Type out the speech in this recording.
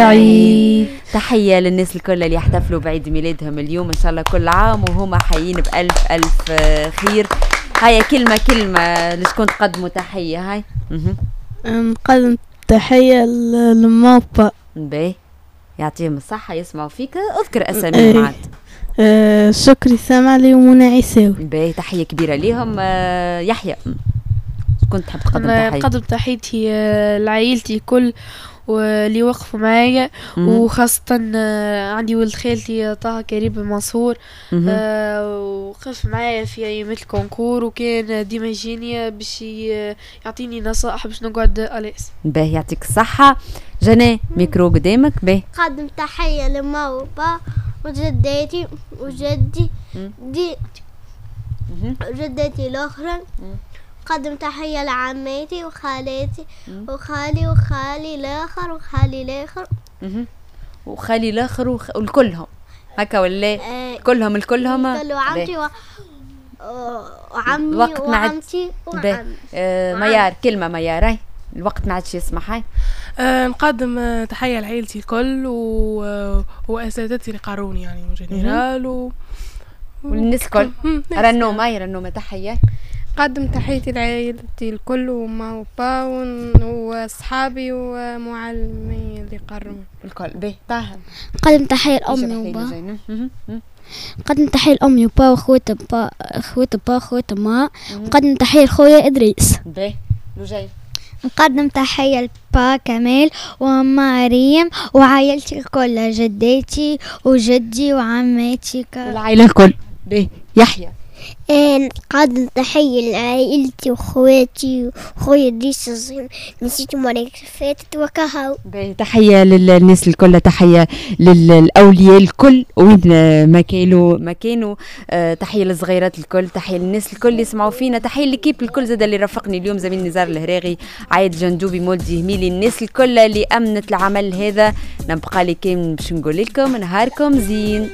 سعيد. تحية للناس الكل اللي يحتفلوا بعيد ميلادهم اليوم، ان شاء الله كل عام وهما حيين بألف ألف خير. هيا كلمة كلمة، لشكون تقدموا تحية؟ هاي. نقدم تحية لماما وبا. باهي، يعطيهم الصحة، يسمعوا فيك، اذكر اساميهم عاد. شكري سامعلي ومنى عيساوي. باهي، تحية كبيرة ليهم. يحيى، كنت تحب تقدم أنا تحية؟ نقدم تحيتي لعائلتي الكل واللي وقفوا معايا، وخاصة عندي ولد خالتي طه كريم بن منصور، وقف معايا في أيامات ال concours وكان ديما يجيني باش يعطيني نصائح باش نقعد à l'aise. باهي، يعطيك الصحة. جنى، ميكرو قدامك، باهي. قدم تحية لما وبا وجداتي وجدي دي جدتي الأخرى. قدم تحية لعماتي وخالاتي وخالي وخالي الآخر وخالي الآخر. وخالي الآخر والكلهم هكا ولا؟ كلهم الكلهم. كل وعمتي وعمي الوقت ما عاد- وعمتي باهي. وعمي. ميار، كلمة ميار، هاي الوقت ما عادش يسمح، هاي. نقدم تحية لعائلتي الكل وأساتذتي اللي قاروني يعني en général والناس الكل. ناس. رنومة، هاي رنومة، تحية. قدم تحيتي لعائلتي الكل وما وبا وصحابي ومعلمي اللي قروني. الكل، باهي. طه. قدم تحية لأمي إيش وبا. بحكي لجينا؟ مهم. قدم تحية لأمي وبا وخوات با، خوات با، خوات ما. قدم تحية لخويا إدريس. باهي، لجين. نقدم تحية لبا كمال وماما ريم وعائلتي الكل، جداتي وجدي وعماتي العائلة الكل. باهي، يحيى. نقدم تحية لعائلتي وخواتي وخويا إدريس الصغير، نسيت المرة اللي فاتت وكهو. باهي، تحية للناس الكل، تحية للأولياء الكل وين ما كانوا، تحية للصغيرات الكل، تحية للناس الكل اللي يسمعوا فينا، تحية l'équipe الكل زاد اللي رافقني اليوم، زميل نزار الهراغي، عايد جندوبي، مولدي هميلي، الناس الكل اللي أمنت العمل هذا. نبقى لي كان باش نقول لكم نهاركم زين.